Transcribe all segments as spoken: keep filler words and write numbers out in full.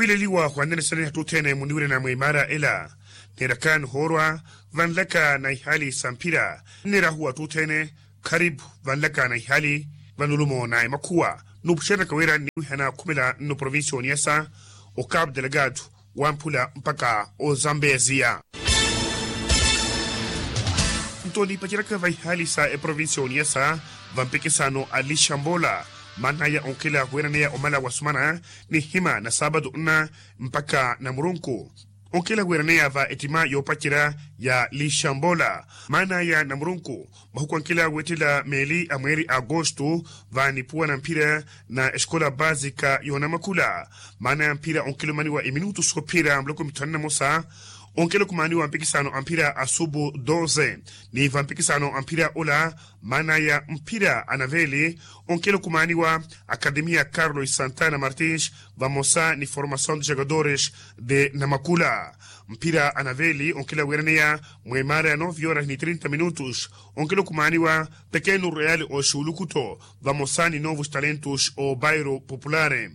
Khwiileliwa khwannenesene atthu othene muniwirana mwa imaara ela. Neeraka nihoorwa vanlaka na ihaali sa mphira. Nneerahu atthu othene kharipu vanlaka na ihaali, vanulumo na emakhuwa. Nuupuxeryaka wira nniwihana khumela nno provincia oniyasa, okapu delegado, wamphula mpakha ozambeziya. Nto niipaceryaka va ihaali sa eprovincia oniyasa, va mpikisano a lixambola, maanaya onkhela wiraneya omala wa sumana, nihima na saapatu nna mpakha namurunku. Onkhela wiraneya va ettima yoopacerya ya lixambola, maanaya namurunku, mahuku ankhela weettela meeli a mweeri a agosto, va nipuwa na mphira na escola basika yoonamakhula. Maanaya mphira onkhela omaniwa eminutu soophiyerya muloko mithanu na mosa. Onkhela okumaaniwa mpikisano a mphira a subu doze, ni va mpikisano a mphira ola, maanaya mphira a naveeli, onkhela okumaaniwa akademiya carlos santana martins, vamosa ni formasaw de jogadores de namakula. Mphira a naveeli onkhela wiraneya mwa imaara ya nove horas ni trinta minutos, onkhela okumaaniwa pekenu real oxulukuto, vamosa ni novos talentos o bairo popular.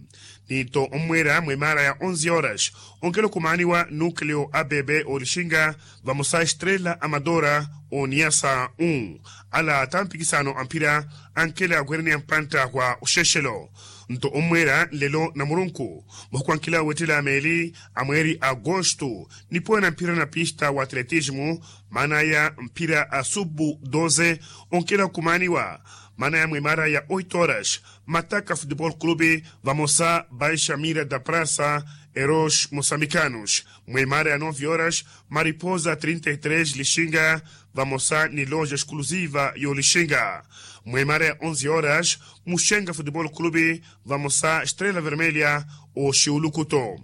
Nto ommweera mwa imaara ya onze horas, onkhela okumaaniwa nukleo a bebe olixinga, vamosa estrela amadora, oniyasa u ala ata mpikisano a mphira, ankhela wiraneya mpantta wa oxexelo. Nto ommweera nlelo namurunku, mahuku ankhela weettela meeli a mweeri a agosto, nipuwa na mphira na pista wa atletismo, maanaya mphira a subu doze, onkhela okumaaniwa, maanaya mwa imaara ya oito horas, mataka futebol clube, vamosa baixamira da prasa, eros mosambicanos. Mwa imaara ya nove horas, mariposa trinta e tres lixinga, vamosa ni loja exclusiva y'olixinga. Mwa imaara ya onze horas, muxenga futebol clube, vamosa estrela vermelha, oxiulukuto.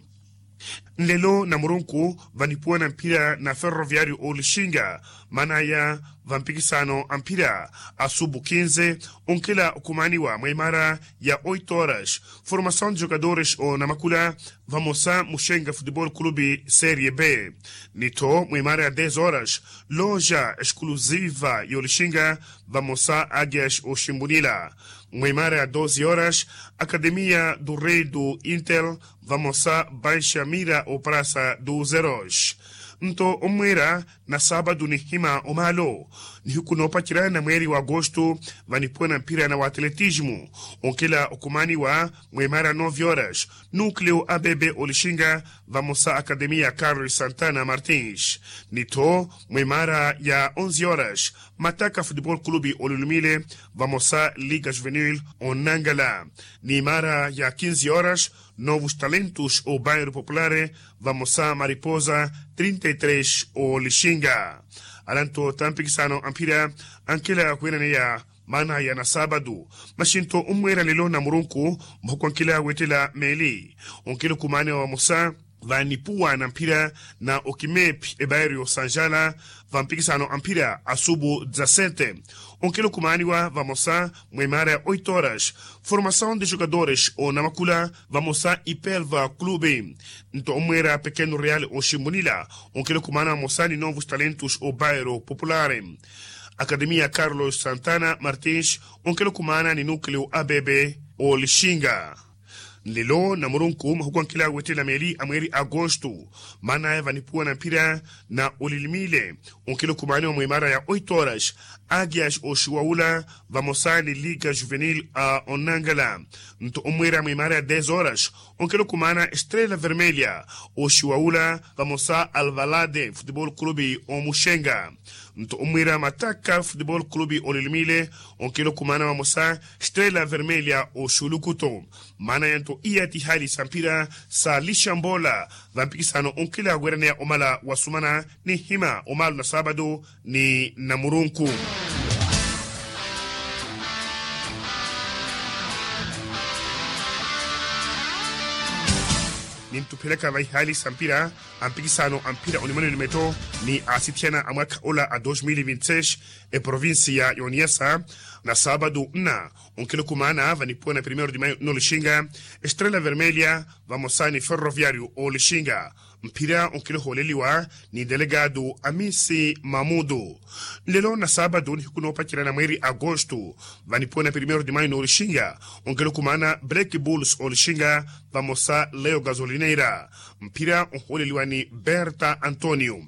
Nlelo namurunku, vanipuwa na mphira na ferroviario olixinga, maanaya va mpikisano a mphira a subu kinze, onkhela okumaaniwa mwa imaara ya oito horas, formasaw de jogadores o namakula, vamosa muxenga futebol clube serie b. Nitho mwa imaara ya dez horas, loja exclusiva y'olixinga, vamosa agias oximbunila. Mwa imaara ya doze horas, akademiya do rei do intel, vamosa baixamira o prasa do zeros. Nto ommweera na saabatu nihima omaalo, nihiku noopacerya na mweeri wa agosto, vanipuwa na mphira na wa atletismo, onkhela okumaaniwa mwa imaara ya nove horas, nukleo a bebe olixinga, vamosa akademiya carlos santana martins. Nitho mwa imaara ya onze horas, mataka futebol clube olilumile, vamosa liga juvenil, onangala. Ni imaara ya kinze horas, novos talentos o bairo popular, vamosa mariposa trinta e tres olixinga. Ala nto ata mpikisano a mphira, ankhela wiraneya maanaya na saabatu. Maxinto ommweera nlelo namurunku, mahuku ankhela weettela meeli, onkhela okumaaniwa vamosa, vanipuwa na mphira na okimepi ebairo y'osanjala, va mpikisano a mphira a subu dezasete, onkhela okumaaniwa vamosa mwa imaara ya oito horas, formasaw de jogadores o namakula, vamosa ipelva clube. Nto ommweera pekenu real oximbunila, onkhela okumaana vamosa ni novos talentos o bairo popular. Akademiya carlos santana martins, onkhela okumaana ni nukleo a bebe olixinga. Nlelo namurunku mahuku ankhela weettela meeli a mweeri a agosto, maanaya vanipuwa na mphira na olilimile, onkhela okumaaniwa mwa imaara ya oito horas, agias oxiwawula, vamosa ni liga juvenil a onangala. Nto ommweera mwa imaara ya dez horas, onkhela okumaana estrela vermelha oxiwawula, vamosa alvalade futebol clube omuxenga. Nto ommweera mataka futebol clube olilimile, onkhela okumaana vamosa estrela vermelha oxulukuto. Maanaya nto iya ti ihaali sa mphira sa lixambola, va mpikisano onkhela wiraneya omala wa sumana, nihima omaalo na saabatu ni namurunku. Nintuphelaka va ihaali sa mpira a mpikisano a mphira onimwene onimeto ni asithiyana a mwakha ola a dos mil vinti seis, eprovincia yoniyasa na saabatu nna onkhela okumaana vanipuwa na primeiro de maio nolixinga, estrela vermelha vamosa ni ferroviario olixinga. Mphira onkela ohooleliwa ni delegado amisi mamudu. Nlelo na saabatu nihiku noopacerya na mweeri agosto, vanipuwa na primeiro de maio noolixinga, onkela okumaana black bulls oolixinga, vamosa leo gazolineira. Mphira ohooleliwa ni berta antonio.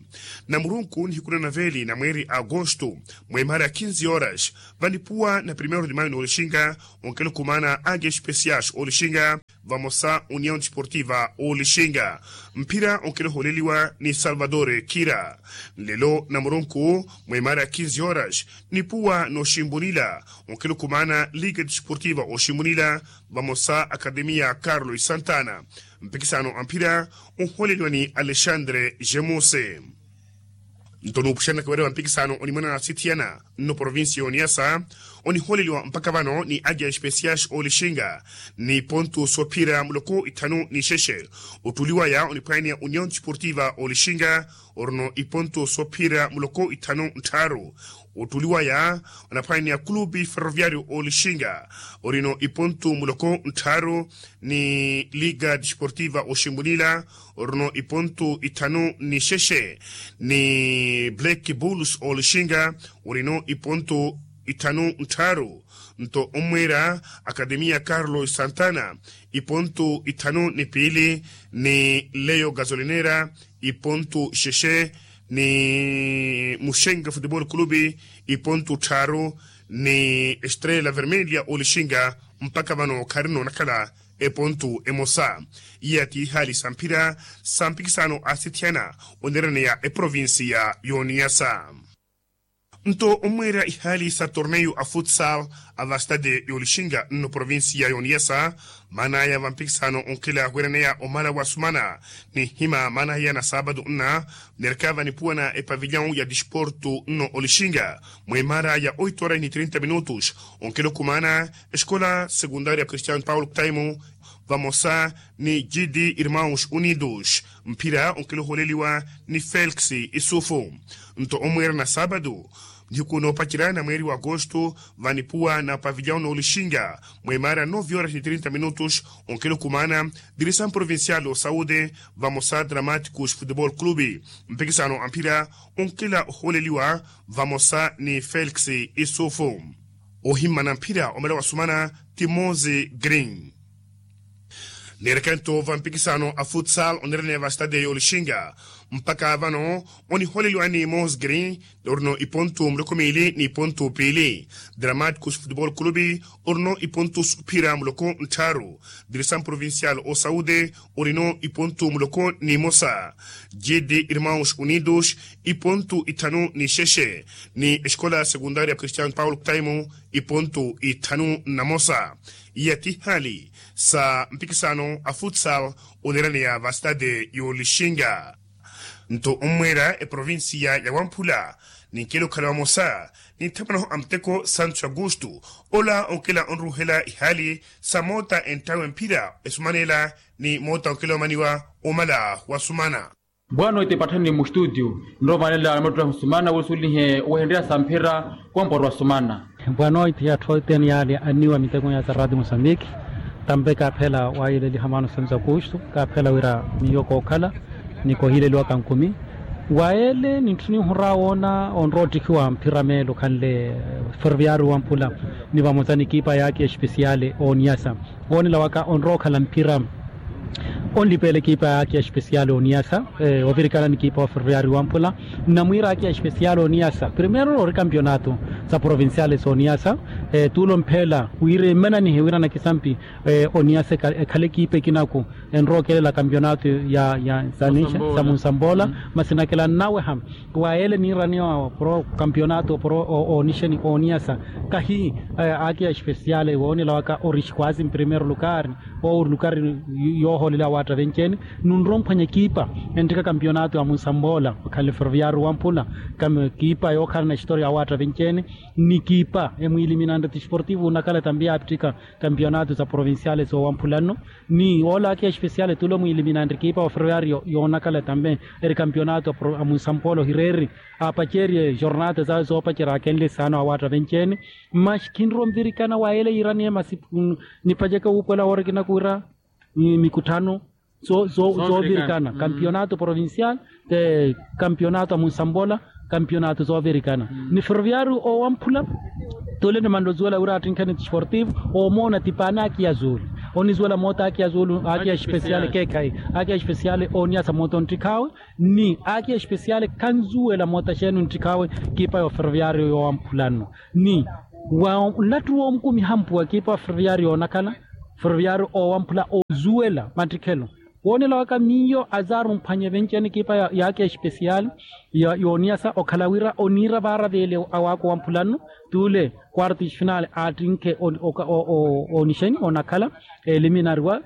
Na murunku nihiku na naveeli na mweeri agosto, mweemaara ya kinzi horas, vanipuwa na primeiro de maio noolixinga, onkela okumaana agia especiais oolixinga, vamosa união desportiva oolixinga. Mphira onkela ohooleliwa ni salvador kira. Nlelo na murunku, mweemaara ya kinzi horas, nipuwa nooximbunila, onkela okumaana liga desportiva oximbunila, vamosa akademia carlos santana. Mpikisano a mphira, onhooleliwa ni alexandre jemuse. Nto nuupuxanaka wira wa mpikisano onimwana na sithiyana nno provincia ya oniasa, onihooleliwa mpakha vano ni agia especiais oolixinga, ni pontu soophira muloko ithanu ni xexe. Ottuli waya oniphwanya union desportiva oolixinga, orino ipontu soophira muloko ithanu nttharu. Ottuli waya onaphwanya clube ferroviario oolixinga, orino ipontu muloko nttharu, ni liga desportiva oximbunila, orino ipontu ithanu ni xexe, ni black bulls oolixinga, orino ipontu ithanu nttharu. Nto ommweera akademia carlos santana, ipontu ithanu ni piili, ni leo gasolinera, ipontu xexe, ni muxenga futebol clube, ipontu tthaaru, ni estrela vermelha oolixinga. Mpakha vano kharina onakhala epontu emosa. Iya ti ihaali sa mphira sa mpikisano a sithiyana oneraneya eprovincia y'oniyasa. Nto ommweera ihaali sa torneio a futsal a vastade y'olixinga nno provincia y'oniyasa, maan'aya va mpikisano onkhila weraneya omala wasumana, ninhima maan'aya na saabatu nna, neereka vanipuwa na epavilhão ya disporto nno olixinga, mweemara ya oito horas ni trinta minutos, onkhila okumaana escola secundaria cristiano paulo kutaimo, vamosa ni gd irmãos unidos. Mphira onkhila ohooleliwa ni felix isufu. Nto ommweera na saabatu, nihiku noopacerya na mweeri wa agosto, vanipuwa na pavilhão n'olixinga, mweemara nove horas ni trinta minutos, onkhila okumaana direção provincial o saúde, vamosa dramáticos futebol clube. Mpikisano a mphira onkhila ohooleliwa vamosa ni felix isufu. Ohimmana mphira omala wasumana ti mose green. Neerekento va mpikisano a futsal onereneya va stade y'olixinga, mpakha vano onihooleliwa ni mose green, orino ipontu muloko miili ni ipontu piili. Dramáticos futebol clube, orino ipontu soophira muloko nttharu. Direção provincial o saúde, orino ipontu muloko n'imosa. Gd irmãos unidos, ipontu ithanu ni xexe, ni escola secundaria cristiano paulo kutaimo, ipontu ithanu na mosa. Iya ti ihaali sa mpikisano a futsal oneeraneya va stade y'olixinga. Nto ommweera eprovincia ya wamphula, ninkela okhala vamosa, ninthamanaho a muteko santos augusto, ola onkela onruuhela ihaali sa moota enttawe mphira esumanela, ni moota onkela omaniwa omala wasumana. Bwano ite patthani mustutio, nromanela amattuttahi osumana wisulihe owehenrya sa mphira, wamporwa osumana. Bwano ite atthu othene yaale anniwa miteko ya sarati mosambiki, tampe kaaphela wayeleliha maano santos augusto, kaaphela wira miyo kookhala ni kohileliwa kankumi. Wayele nintthu ninhura woona onrowa ottikhiwa mphira meelo khanle, ferroviario wamphula, ni vamosa ni ekipa yaakhi especiale oniyasa. Woonela waka onrowa okhala mphira, onlipeela ekipa yaakhi especiale oniyasa, ovirikana ni ekipa wa ferroviario wamphula. Nnamwiira yaakhi especiale oniyasa primeiro ori kampionato sa provinciale soniyasa, tuulo mpheela wira emmananihe wira nakisampi oniyasa ekhale ekipa ekinaku, enrowa okelela kampionato ya ya sa munsambola, masi nakela nnaweha. Wayele niiraneya opuro kampionato opuro onixeni oniyasa, kahi aki especiale woonela waka ori xikwazi mprimeiro lukari, owo ori lukari yoohoolela awaatta venci-ene. Nunrowa omphwanya ekipa enttika kampionato ya munsambola okhanle ferroviario wamphula, kamu ekipa yookhalana historia awaatta venci-ene, ni ekipa emwiiliminanre ti esportivo onakhala tampe yaapittika kampionato sa provinciale soowamphula nno. Ni ola aki especiale tulo mwiiliminanre ekipa wa ferroviario yoonakhala tampe eri kampionato a munsambola ohireeri, apacerye jornata zawe zoopacerya akenle saana awaatta venci-ene. Masi khinrowa onvirikana wayele yiiraneya masi nipaceke wuupola woori kinaku wira mikutthano zoovirikana, kampionato provincial, kampionato a munsambola, kampionato zoovirikana. Ni ferroviario owamphula, tule nimanle ozuwela wira attinkhe ni sportivo, omoona tipaani akiya zuulu, onizuwela moota akiya zuulu akiya especiale keekhayi, akiya especiale oniyasa moota onttikhaawe, ni akiya especiale khanzuwela moota xeeni onttikhaawe. Kiipa yo ferroviario yowamphula nno, ni wa nlattu woomukumiha mpuwa kiipa wa ferroviario yoonakhala, ferroviario owamphula ozuwela mattikhelo. Woonela waka miyo azaaru mphwanye venci-ene kiipa yaakiya especiale yooniyasa okhala wira oniira vaara veele awaaka owamphula nno, tule quarto de final aattinkhe onixeni onakhala, eliminariwa,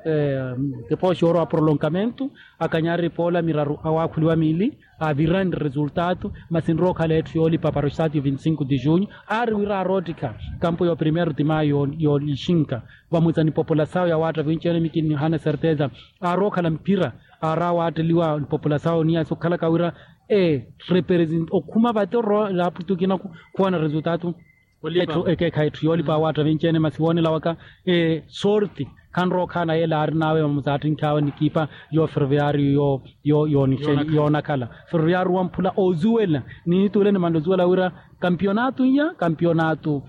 depois yoorowa prolongamento, akanyari poola miraru awaakhuliwa miili, avirani resultado. Masi nrookhala etthu yoolipa para o stadio vinti cinco de junho, aari wira aaroottikha kampo yo primeiro de maio yoolixinka, vamutsa ni populasawo ya waatta vinci-ene mikinni hana certeza, aarookhala mphira, aari awaatteliwa ni populasawo niya sokhalaka wira represent okhuma vate oroola aputukina khuwana resultado. Etthu ekeekhayi etthu yoolipa awaatta vinci-ene masi woonela waka sorti, khanrookhaana yeela aarin'awe vamutsa attinkhi awe ni kiipa yo ferroviario yoonakhala, ferroviario wamphula ozuwela, ni tule nimanle ozuwela wira kampionato iya kampionato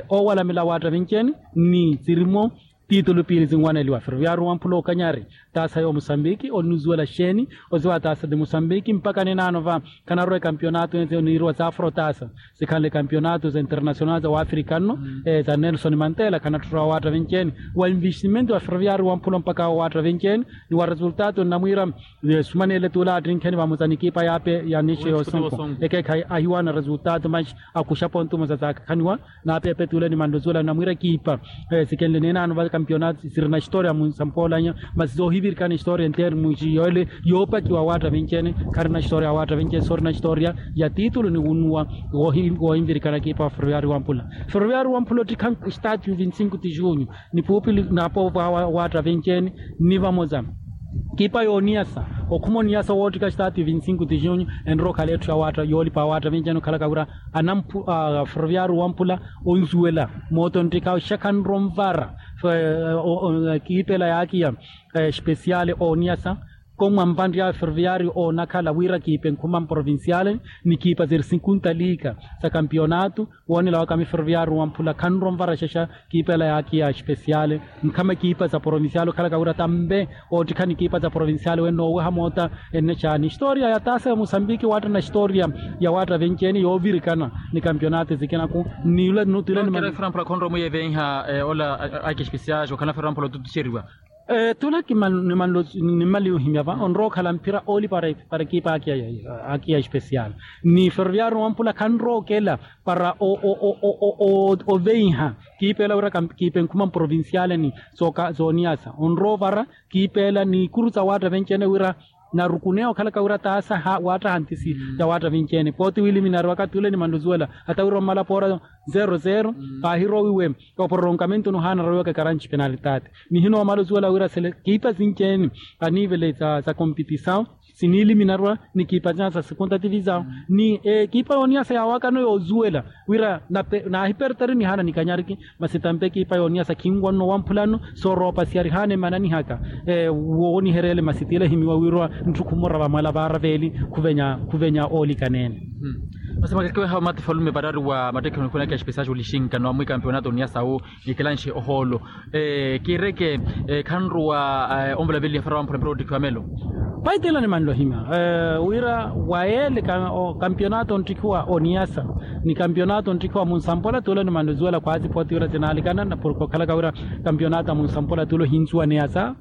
owalamela awaatta vinci-ene, ni sirimo titulu piili sinwaneliwa ferroviario wamphula okanyari taasa yo musambiki onizuwela xeeni, oziwa taasa ti musambiki mpaka ninaano va khanarwa ekampionato ense oniiriwa za afrotasa, sikhanle kampionato za internacional za wafrika nno, za nelson mantela khanatthurwa awaatta vinci-ene. Wa investimento wa ferroviario wamphula mpaka awo awaatta vinci-ene, ni wa resultado nnamwiira sumanele tuula attinkheni vamutsa ni kiipa yaape ya nixe yoosonko, ekeekhayi ahiwaana resultado manxi akuxa pontu musa zaakhaniwa. Naapepe tule nimanle ozuwela namwiira kiipa sikenle ninaano va kampionato sirina historia munsampoolanya, masi zoohivirikana historia enteri munxi yoole yoopakiwa awaatta vinci-ene. Kharina historia awaatta vinci-ene soorina historia ya titulu ni wunuwa woohinvirikana kiipa wa ferroviario wamphula, ferroviario wamphula ottikha stadio vinti cinco de junho, ni puupili naapovo awa awaatta vinci-ene, ni vamoza kiipa yooniyasa okhuma oniyasa woottikha stadio vinti cinco de junho, enrookhala etthu ya waatta yoolipa awaatta vinci-ene okhalaka wira anamphu ferroviario wamphula onzuwela moota onttikhawe xakhanro onvara kiipela yaakiya especiale ooniyasa, komwa mpanrya ferroviario oonakhala wira kiipe nkhuma mprovinciale ni kiipa ziri sinkunta liika za kampionato. Woonela waka mi ferroviario wamphula khanro onvara xexa kiipela yaakiya especiale nkhama kiipa za provinciale okhalaka wira tambe oottikhani kiipa za provinciale wene nooweha moota. Ennexa ni historia ya taasa ya musambiki waatta na historia ya waatta vinci-ene yoovirikana ni kampionato ezikinaku. Ni ula nutule ni mani framphula khonrowa mwiyevenha ola aki especial okhala framphula otutuxeriwa. Tula nimanle ohimya va onrowa okhala mphira oolipa para ekipa akiya especial, ni ferroviario wamphula khanrowa okela para oveiha kiipa ela wira kiipa enkhuma mprovinciale ni zooniyasa onrowa ovara kiipa ela ni ikuru za waatta vinci-ene wira narukuneya okhalaka wira taasa waattaha ntisi ya waatta vinci-ene pooti wiiliminariwaka tule nimanle ozuwela hata wira ommala poora zero zero paahirowiwe opororomkamento nohaana arowiwaka karanci penalitati. Nihinoomala ozuwela wira sele kiipa sinci-ene anivele za kompitisawu siniiliminariwa ni kiipa sinyasa sa sekonta tivisawu ni ekiipa yooniyasa yaawakano yoozuwela wira naahipertari nihaana nikanyariki. Masi tampe ekiipa yooniyasa khinwanno wamphulano sooroopasiya rihaana emananihaka woonihereele masi tiila ehimiwa wiirwa ntthukhu mura vamwala vaara veeli khuvenya oolikaneene. Masi mwakekeweha mati falume varari wa mattekhe onikhunaka espesiasi olixinka no amwi kampionato oniyasawu nikilanxe ohoolo. Kiireke khanruwa onvela veliha fara wamphula mpira ottikhiwa melo. Paitela nimanle ohimya wira wa yeele kampionato onttikhiwa oniyasa ni kampionato onttikhiwa munsampola tuula nimanle ozuwela khwaasi pooti wira sinaalikana porke okhalaka wira kampionato a munsampola tuula ohinsuwa niyasa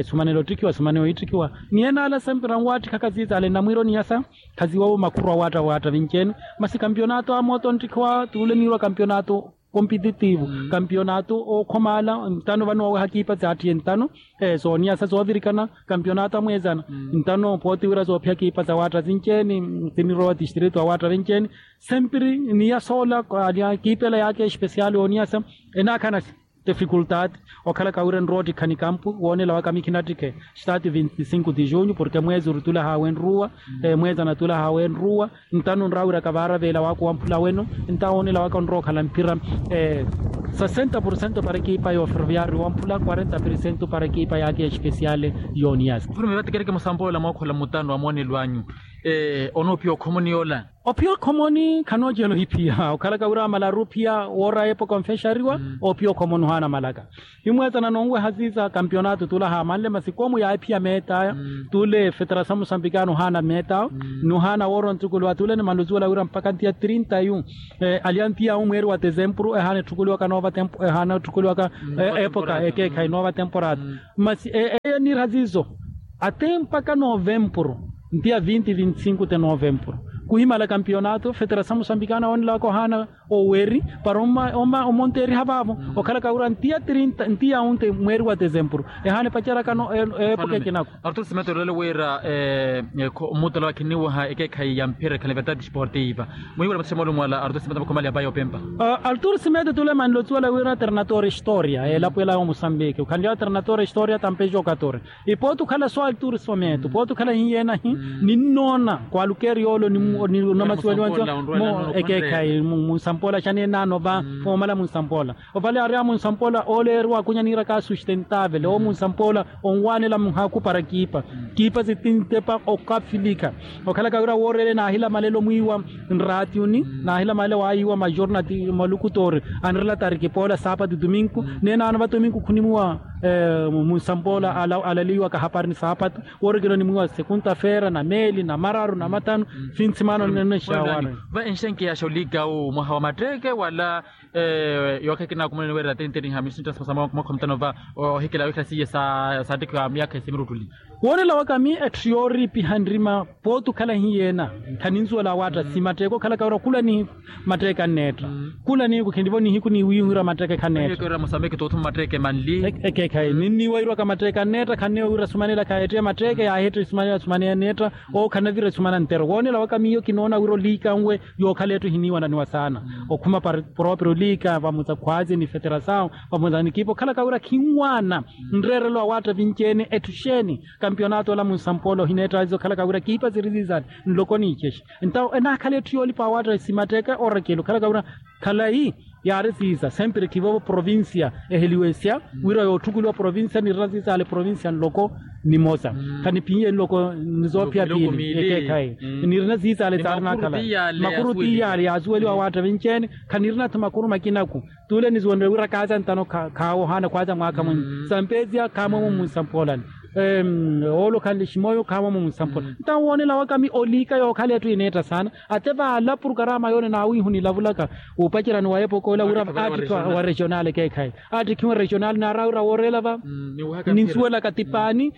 sumanela ottikhiwa sumanela ohitthikiwa. Ni enaala sempira nwaattikhaka siisale nnamwiira oniyasa khaziwawo makhuru awaatta awaatta vinci-ene. Masi kampionato a moota onttikhiwa tuule niirwa kampionato kompititivu kampionato ookhomaala ntano vano waweha kiipa zaattiye ntano sooniyasa soovirikana kampionato amweezana ntano pooti wira soophiya kiipa zawaatta sinci-ene sinirowa tistritu awaatta vinci-ene. Sempiri niyasoola kiipela yaakhe espesiali ooniyasa enaakhanasi Difikultaati okhalaka wira enrowa ottikhani kampu woonela waka mikhinattikhe. Staati vinti sinku ti junyu porke mweezi orutulahawe enruwa mweezi anatulahawe enruwa. Nttanu nrawira kavaara veela waka wamphula weno. Ntta woonela waka onrowa okhala mphira sasenta porcento para ekipa ya oferoviario wamphula kwarenta porcento para ekipa yaka ya espesiale. Yooniyasi mfulume vatekereke musampoola mwaakhola mutanu wa moonelo anyu. Onoophiya okhomoni yoola ophiya okhomoni khanoocela ohiphiya okhalaka wira amalaru ophiya woora epoka onfexariwa. Ophiya okhomoni ohaana malaka. Himweetana nonweha siisa kampionato tula haamanle masi koomu yaahiphiya meetaya. Tule feterasyon musambikana ohaana meetaya. Nohaana woora ontukuluwa tule ni manluzuwela wira mpakha ntiya trinta yu alya ntiya yu mweeri wa tesempuru ehaana etthukuliwaka noova tempo ehaana etthukuliwaka epoka ekeekhayi noova temporada. Masi eyo eniira siiso ate mpakha novempuru ntiya vinti vinti sinku te novempuru kuhimala kampionato feterasyon musambikana woonelaka ohaana oweri para omonteeriha vaavo. Okhalaka wira ntiya trinta ntiya yu nte mweeri wa tesempuru ehaana epaceryaka epoka ekinako. Artur simeto olole wira mutala wakhiniwaha ekeekhayi ya mphira ekhale verdade esportiva. Muhiwela mathusha moolumwala artur simeto makhomalyapa yoopempa. Artur simeto tule manlotsiwela wira ternator historia elapo ela ya omusambiki okhanly'awe ternator historia tampejo katori. Ipooti okhala so altur simeto ipooti okhala hiyenahi. Ninnoona kwalukeri yoolo ni onamasiweliwa nco ekeekhayi munsampoola xanenaano va. Omala munsampoola ovale ari a munsampoola oleeriwa akunya niiraka sustentavele omunsampoola onwaanela muhaku para kiipa kiipa sitintepa okafilikha. Okhalaka wira wooreele naahila malelo mwiiwa nraatiuni naahila malelo waayiiwa majornati malukutoori anirela tarikipoola saapatu tuminku. Neenaano va tuminku khunimuwa munsampoola alaliwaka hapari ni saapatu. Woorikela onimwiiwa sekunta feera na meeli na mararu na mathanu. Finsimaano nene xawaana. Va enxenkeyaxa olikawu mwaha wa matteeke wala? Yookhekina akumuleni weerera tenteni ha misinta sa mwakha mutano va ohikela wikhala siye saattikhiwa myaakha esimiruttuli. Woonela waka mi etthu yooriipiha nrima pooti okhala hiyeena. Khaninsuwela awaatta si matteeke okhalaka wira khulanihi matteeke anneetta. Khulanihiku khinlivo nihiku niwiihurya matteeke khanneetta. Ekeekhayi ninniiwa irwaka matteeke anneetta khanniiwa wira sumanela khayeettiya matteeke yaaheetta isumanela sumanela anneetta. Owo khanavira esumana nttero woonela waka miyo kinoona wira oliikanwe yookhala etthu ehiniiwananiwa saana. Okhuma proprio oliika vamosa khwaazi ni feterasao vamosa ni ekipa okhalaka wira khinwaana nreerelo awaatta vinci-ene etthu xeeni. Kampionato ola munsampoola ohineetta aziza okhalaka wira kiipa siri siisale nloko niicexe. Ntawo enaakhala etthu yoolipa awaatta esimatteeke orakeli okhalaka wira khalayi yaari siisa sempre khivovo provincia eheliwesya wira yootthukuliwa provincia nirina siisale provincia nloko. Nimosa khaniphiye nloko nizoophiya piili ekeekhayi. Nirina siisale saari naakhala makuru tiyaari yaasuweliwa awaatta vinci-ene. Khanirina-tho makuru makinaku tule nisuwenrye wira kaaza ntano khaawohaana khwaaza mwaakha mwinyi sampezia khaamwemo munsampoolani. Oolo khanle ximoyo khaamwemo munsampoolani ntawo woonela waka mi oliika yookhala etthu ineetta saana. Ate vaala purkarama yoole naawiihu nilavulaka wuupacerani wa epoka ola wira aattikhiwa wa regional ekeekhayi aattikhiwa regional naara wira wooreela va ninsuwelaka tipaani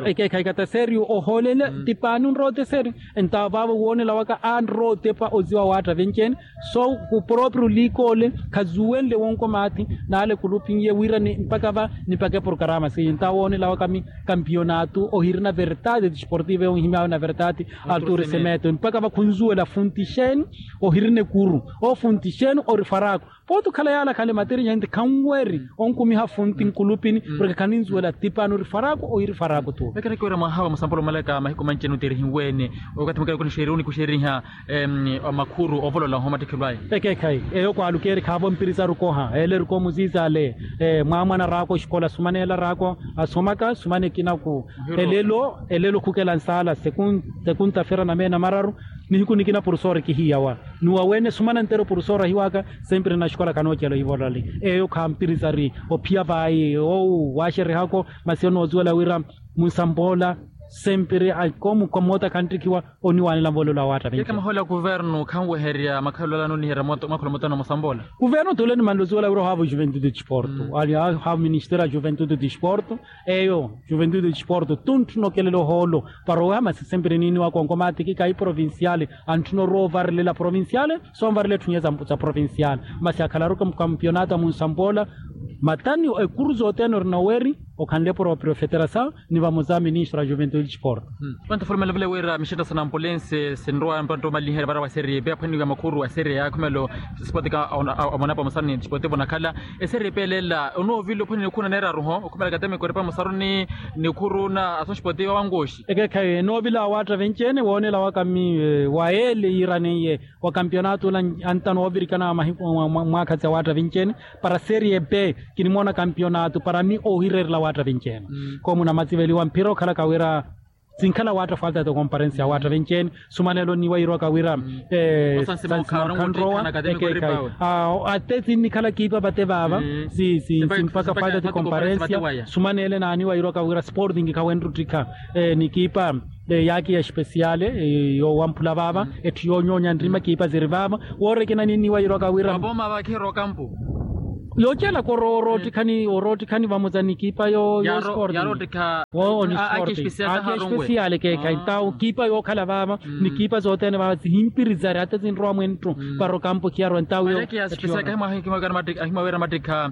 ekeekhayi kataseriyo ohoolela tipaani onrowa oteseri. Ntawo vaavo woonela waka anrowa otepa oziwa waatta venci-ene. So khuproprio liikoole khazuwenle wonko maathi naale khulupinye wira ni mpakha va nipakhe porokarama siiyo ntawo woonela waka mi kampionato ohirina verdade desportiva eyo nhimyaawe na verdade. Artur semeto mpakha va khunzuwela funti xeeni ohirina ekuru ofunti xeeni ori faraku. Pooti okhala yaala khale materi nyanti khanweri onkumiha funti nkulupini porke khaninzuwela tipani ori faraku ohiri faraku tu. Vekerekiwira mwaha wa musampolo omalaka mahiku manci-ene oteerihiwene okathi mukela kunixeeriwa onikuxeeriha makhuru ovolola ohomattikhelo aya. Ekeekhayi eyo kwaalukeeri khaavo mpiri sarukoha ele erukomu siisale. Mwaamwana araako oxikola asumaneela araako asomaka sumane ekinaku elelo elelo khukela nsaala sekunta fera na meena mararu. Nihiku nikina porofesori kihiyawa ni waweene sumana nttero porofesori ahiwaka. Sempre na xikola khanoocela ohivolali eyo khampirisari ophiya vaayi owu waaxerihako masi onoosuwela wira munsampoola sempre akoomu khamoota khantthikiwa oniwaanela nvolelo awaatta vinci-ene. Keke mahoolo a kuvernu khanweherya makhalelo ala nooniherya mwakholo mutano musamboola. Kuvernu tule nimanlosuwela wira ohaava ojuventude disporto ali ohaava oministeri a juventude disporto. Eyo juventude disporto tuntthuna okelela ohoolo para oweha masi sempre niiniwaka onkomaatiki kahi provinciale antthuna orowa ovarelela provinciale. Sonvarela etthu nyiya sa provinciale masi akhalaru kampionato a munsampoola. Matani ekuru sothene orina oweri okhanle proprio federasaw ni vamoza ministro a juventude disporto. Pantu fulumelovele wira mixetta sa nampulense sinrowa mpantu omaliherya vara wa serie b aphwaniwa makhuru wa serie a khumelo sipoti ka omona pamusaruni sipoti vonakhala eserie b elela onoovila ophwani nikhuru naneeraruho okhumela katemeko eri pamusaruni nikhuru na aso sipoti wa wangoxi. Ekeekhayi enoovila awaatta venci-ene woonela waka mmi wa eele yiiraneiye wa kampionato ula antano oovirikana mwaakha tsi awaatta venci-ene para serie b kinimoona kampionato para mmi oohireerela awaatta venci-ene. Koomu namatsiveliwa mphira okhalaka wira sinkhala waatta falta de comparensi ya waatta venci-ene. Sumanelo nniwa yiirwaka wira atte sinnikhala kiipa vate vaava simpaka falta de comparensi ya sumanele naaniwa yiirwaka wira sporting khawenruttikha ni kiipa yaaki ya espesiale yoowamphula vaava etthu yoonyoonya nrima kiipa ziri vaava. Woorekena ninniwa yiirwaka wira yoocelaka oroottikhani oroottikhani vamoza ni kiipa yo sporting. Wo ni sporting aki espesiale keekhayi ntawu kiipa yookhala vaava ni kiipa zothene vaava zihimpirizari hata zinrowa mwenttu para okampo khiyarwa ntawu yo. Ahimawira mattikha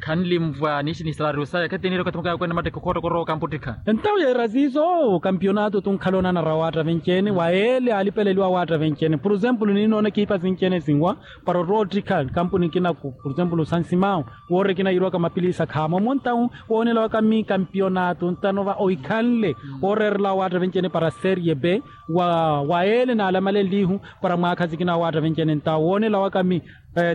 khanlimvwa niishi ni salariyo saya khetiniire okathi mukaya kwene mattikha okhotta korowa okampo ottikha. Ntawu yeera siiso kampionato tunkhala onanara awaatta venci-ene wa eele alipeleliwa awaatta venci-ene por exemplo ninoona kiipa sinci-ene sinwa para orwa ottikha kampuni kinaku por exemplo sansimawu woorekina yiirwaka mapilisa khaamo montawu woonela waka mmi kampionato ntano va ohikhanle ooreerela awaatta venci-ene para serie b wa eele naalamalenlihu para mwaakha sikina awaatta venci-ene ntawu woonela waka mmi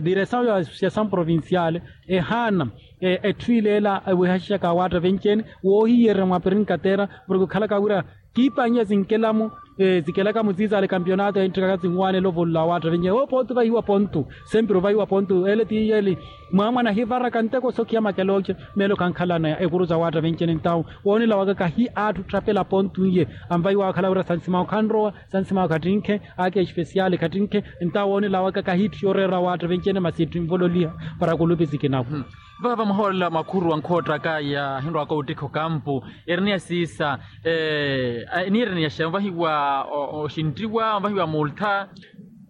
diresawu ya associasawu provinciale ehaana etthu ileela ewehashaka awaatta venci-ene woohiyererya mwa perinkatera porke okhalaka wira kiipa anyiya zinkelamo zikelaka muziizaale kampionato enttikaka zinwaanela ovolola awaatta venci-ene wo pontu vahiwa pontu sempre ovahiwa pontu ele ti yeli mwaamwana ahivaraka nteko sokhiya makelooce meelo khankhalana ekuru za waatta venci-ene ntawu woonela waka kahi atthu otthapela pontu iye anvahiwa akhala wira sansimawu khanrowa sansimawu khattinkhe aki espesiale khattinkhe ntawu woonela waka kahi itthu yooreera awaatta venci-ene masi itthu invololiha para kulupi sikinaku. Vaava mwahoolela makhuru wa nkhoottaka yaahinrwaka ottikha okampu eri ni ya siisa eniireni yaxeya onvahiwa oxinttiwa onvahiwa multha.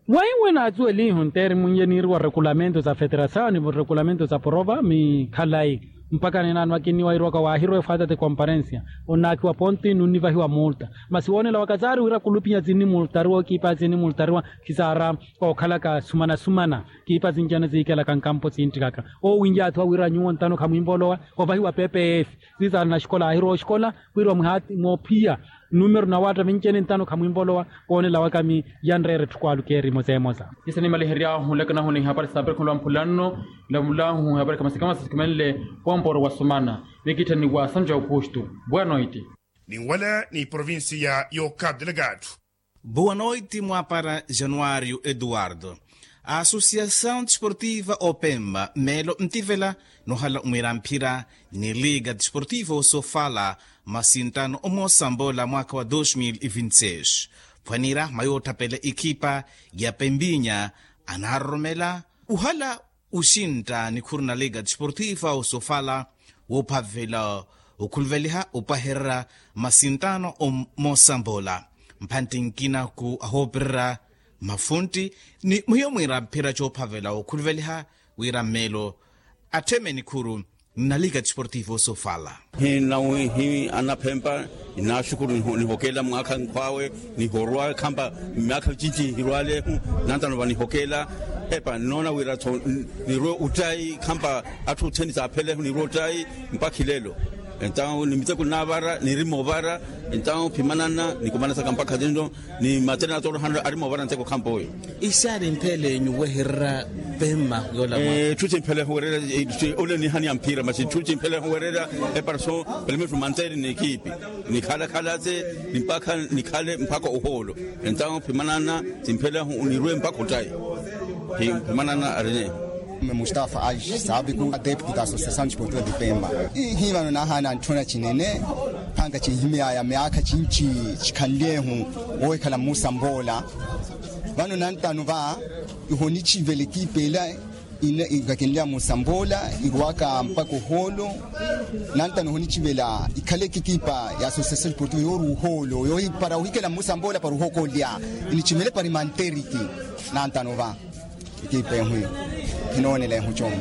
Wahiwe naatsuwelihu nteeri munye niiriwa rekulamentu sa federasawu ni rekulamentu sa porova mi khalayi mpakha ninaano akinniwa yiirwaka waahirwa efaata ti komparensiya onnaakhiwa ponti nunnivahiwa multa masi woonela waka saari wira kulupinya sinnimultariwa okiipa sinnimultariwa khisaara ookhalaka sumanasumana kiipa sinci-ene siikelaka nkampo sinttikaka oowinyaathiwa wira nyuwo ntano khamwinvolowa ovahiwa pepe eefi sisaari naxikola aahirwa oxikola wira mwihaati moophiya numeru na waatta vinci-ene ntano khamwinvolowa woonela waka mi yanreera etthu kwaalukeerimo seemosa. Ise nimaliheryaahu nlakanahu ni hapari sa perikha olwamphula nno nlamulahu hapari khamasikamasi sikhumenle poomporo wa sumana. Mikittha ni wa sanju aukustu. Boa noite. Ninwala ni provincia y'okapu delegado. Boa noite mwaapara januario eduardo. A associação desportiva opemba meelo ntivela nohala mwiira mphira ni liga desportiva osofala masintano omosambola mwaakha wa dos mil e vinti seis phwanira mayootthapela ekhipa ya pembinya anaaroromela uhala uxintta nikhuru na liga desportiva osofala woophavela okhuluveliha opahererya masintano omosambola mphantti nkina ku ahoopererya mafuntti ni muhiyo mwiira mphira coophavela okhuluveliha wira mmeelo attheme nikhuru nna liga desportiva osofala. Hi nawi hi anaphempa ninaaxukuru nihokelela mwaakha nkhwaawe nihorwa khampa myaakha micinci hirwalehu nantano vanihokelela epa nnoona wira-tho nirwe ottayi khampa atthu othene saaphelehu nirwe ottayi mpakha ilelo. Entawu ni miteko nnaavara nirima ovara entawu phimanana nikumanasaka mpakha tinno ni matene atoorohano ari moovara nteko khampa oyo. Ixaari mphelenyu wehererya pemma yoola mwa. Etthu cimpheleho wererya ole nihani ya mphira masi etthu cimpheleho wererya eparaso pelemetru manteeri n'ekipi nikhala khalatse ni mpakha nikhale mpakha ohoolo. Entawo phimanana cimpheleho nirwe mpakha ottayi. Phimanana arine. Mustafa ali sabiku adeptu da associação desportiva de pemba. Ihi vano nahaana ntthuna cinene phanga cinhimeyaya myaakha cinci cikhanlehu woohikhala mmusa mboola. Vano nantano va iho nicivele ekipa ela ina ikakenleya musa mboola irwaka mpakha ohoolo. Nantano iho nicivela ikhale ekipa ya associação desportiva yoori ohoolo para ohikela musa mboola para ohokolya. Inicivele para imanteriki nantano va ekipa ehu iyo. Khinoonela ehu comu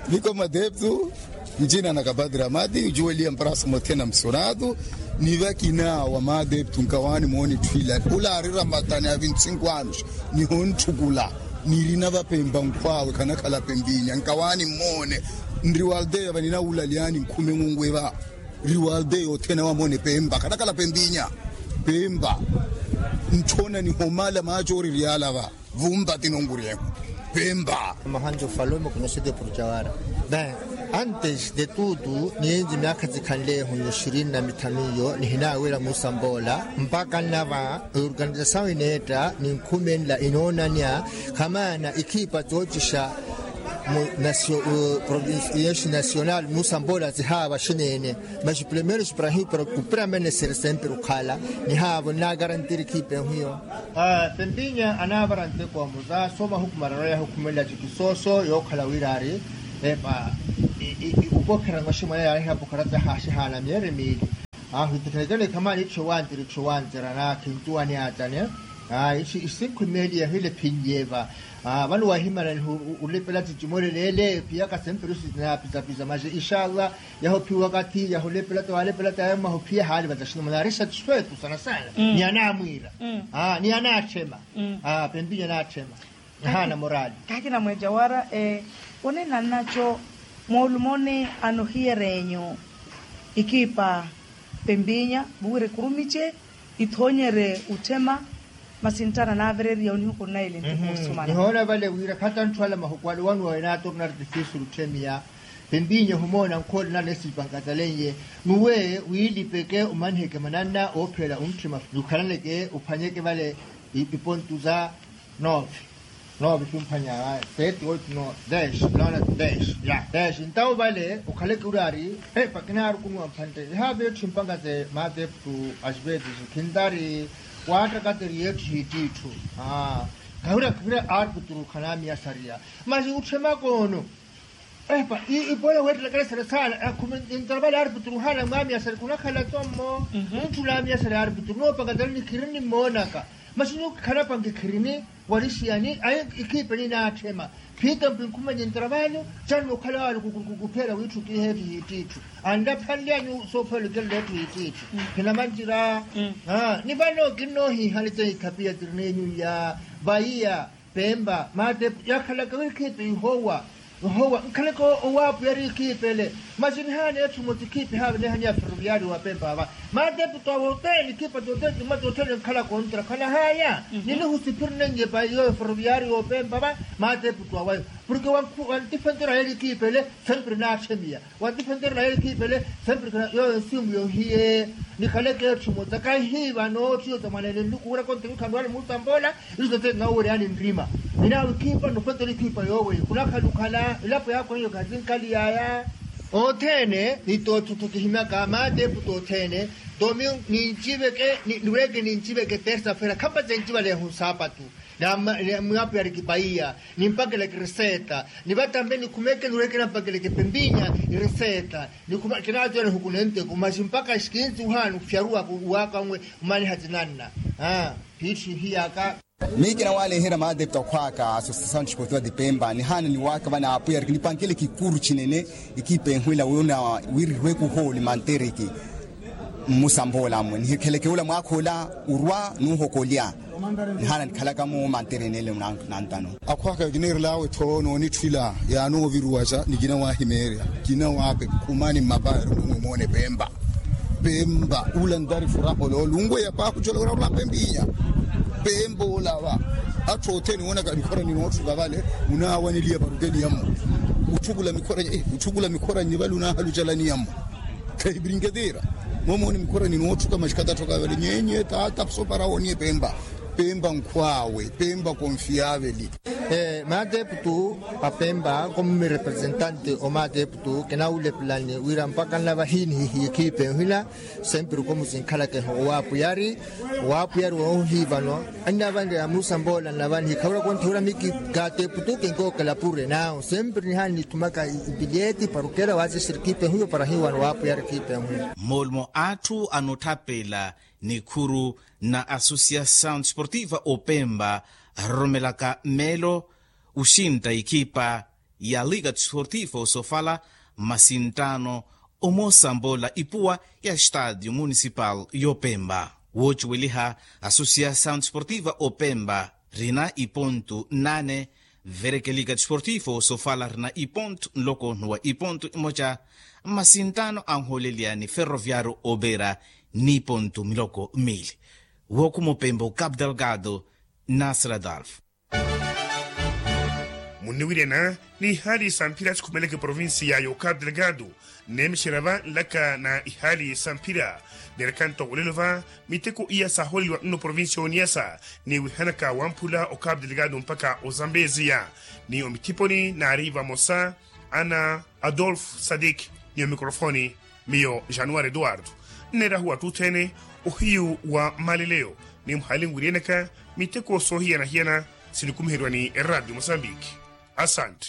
niko madeptu. Ncina na kapatira mati ncuweliya mparasa mothena msonatu. Ni vakina wa maadeptu nkawaani moona etthu ila ula aarira matani a vinti sinku anus, nihontthukula. Nirina vapempa nkhwaawe khanakhala pempinya nkawaani mmoone. Nriwaldeya vaninawulalyani nkhume ng'ungwi va. Riwaldeya othene awe amoone pempa khanakhala pempinya. Pempa. Nthona nihomala maacoori riyala va. Vumpa tinonkuriyeho. Pempa. Mahanjo falomo kunosete purujawara. Ben, antes de tutu niyenzi myaakha tsikhanleho yo ishirini na mithanu iyo nihinawela musambola mpaka nnava. Eorganizasawu ineetta ninkhumenla inoonanya khamaana ikhipa tsoocixa mu nasio provinsi yesu nasional musambola zihaava xineene. Maxi primero xiparahimu para kupiramene siri sempre okhala nihaavo nnakarantiri khiipe nhiyo. Pempinya anaavara nteko wa muza soma hukumara roya hukumela cikisoso yookhala wira ari epa upokhera nwaximwana yaariha pokhera tahaxihana miyeri miili. Ahu itikhanekele khamaani itthu wantiri itthu wantirana khintuwani atane. Isinkhu imeli yahile phinyeva. Vano wahimana nihu ulepela tijimolelele phiyaka semperusi na pizapisa maxe inshallah. Yahophiwa kathi yahulepela ta walepela ta yamma hophiya hali vataxina manaarisa tiswetu sana sana. Ni anamwira ni anatthema. Pempinya anatthema. Haana morali. Kaakina mweja wara. Onenannaco moolumoni anohiyerenyu ikiipa pempinya vuwira ekurumice ithoonyerye utthema. Masi nttana naavereriya onihuku nnaile nttikuusumana nihoona vale wira khata ntthu ala mahuku ale wani wawe naatorna artifisi lutthemiya. Pempinya ohumoona nkhoole nale sipankatalennye nuwe wiilipeke omaniheke mananna oopheela ontthima nukhalaneke ophwanyeke vale. Ipontu za nove. Nove xumphwanya. Sete oito nove dez nona dez ya dez ntawo vale okhaleke uri ari epa kinaarukunuwa mphantte ihaave etthu mpangase maateptu. Asipetisi khintari waattakateri yetthu hititthu. Kahira kahira arputuru khanamiyasariya masi utthemaka ono. Epa ipola weettelakale sala saala akhume. Ntarapale arputuru haana mwamiyasari khunakhala tommo. Mutthu namiyasari arputuru noopakatani nikhirini mmoonaka. Masi nyuwo khanapanke khirini. Walixiyani ayi ikhiipeni naatthema. Phiitampi nkhumenye ntarapale. Canno okhala wali kukupheela wiitthu kiheetthu hititthu. Anlaphanlyani soophola okelela etthu hititthu. Khinamanjira. Ni vano kinnoohiihani teikhapia tirinenyu ya vaiya pempa maate yakhalaka wikhiipi ihowa. Ihowa nkhalaka owaapuyari ikhiipele. Masi nihaana etthu muttikhiipi haavenehani ya ferroviario wa pempa va. Maate puto awe othene ikhiipa tothene tima tothene nkhalaka ontra khanahaya. Ninihusiphirnenye pa iyo ferroviario wa pempa va. Maate puto aweyo porke wantifentera yeli ikhiipele. Sempre naathemiya. Wantifentera yeli ikhiipele. Sempre yoyo nsimu yohiye. Nikhaleke etthu muttakaihi vano ttiyo tamwanene nluku wira konte wikhanwani mutambola. Iso tete nnawoweryani nrima. Ninaawe ikhiipa nufentera ikhiipa yooweyo khunakhala okhala ilapo yaakho hiyo khatinkhali yaya. Othene ni tottuttu kihimyaka maate eputu othene. Domingo ninciveke niweke ninciveke tersa fera khampatse ncivaleho nsaapatu. Namwaapuyariki paiya nimpakeleke reseta. Ni vatambe nikhumeke niweke nampakeleke pempinya ireseta. Nikhuma kinaatiyana hukunenteku masi mpaka xikinsi uhaana ofyaruwaka uwaaka nwe. Mmaniha tinanna. Phiitthu ihiyaka. Miyo kinawaleherya maadeptu akhwaka asosesao ntthipotiwa tipempa nihaana niwaaka vanaapuyariki nipankele kikuru thinene. Ikiipa enhwela wona wiri rweku hooli mantereki. Mmusambola mwe nihikheleke ola mwaakha ola urwa nuuhokolya. Nihaana nikhalaka-mo mantereni ele nantano. Akhwaka kiniirelaawe tho noonitthwila yaanooviruwaxa ni kinawahimeerya. Kinawaapekha khumani mmapaya eri mumwe moone pempa. Pempa ula ntari furaha ololo unweya paakucola wira ula pempinya. Pempa olava atthu othene woonaka mikhora ninootthuka vale. Munaawaneliya parukeliya-mo utthukula mikhora nyi vale unaahalucalaniya-mo. Khahipirinke tiira. Momooni mikhora ninootthuka maxikata atthoka vale nyenye taata sopara wooniye pempa. Pempa nkhwaawe pempa konfiyaveli. Maateptu a pempa komu mirepresentante o maateptu kinawulepelani wira mpaka nnava hiinihihiye khiipe nhwila. Sempiri komu sinkhalaka eho owaapuyari. Owaapuyari woohiivano annavanreya musambola nnava nihikha wira kontha wira miki kaateptu kinkookela pure nawo sempiri nihaana nithumaka ipiliyeti para okela waasisiri khiipe nhwila para hiiwana owaapuyari khiipe nhwila. Moolumo atthu anotthapela nikhuru na associação desportiva opempa aroromelaka mmeelo oxintta ikipa ya liga desportiva osofala. mmasinttano omoosambola ipuwa ya estadio municipal y'opemba. Woocuweliha asosiasaw desportiva opemba rina ipontu nane, verekelika desportivo sofala rina ipontu nloko nnuwa ipontu imoca, mmasinttano anhooleliya ni ferroviario opera ni ipontu miloko miili. Wookhuma opemba ocapu delgado, nasir adolf. Munniwiryana ni ihaali samphira sikhumeleke provincia ya ocapu delgado, nneemexerya va nlaka na ihaali samphira. Neerekhanto olelo va miteko iya saaholeliwa nno provincia y'oniyasa, ni wihanaka wamphula ocapu delgado mpakha ozambeziya. Ni omithiponi naari vamosa ana adolf sadik, ni omikrofoni miyo januari eduardo. Nneerahu atthu otthene ohiyu wa mmaleleyo, ni muhaali nwiryenaka miteko soohiyana-hiyana sinikumiheriwa ni eradio mosambiki. Asante.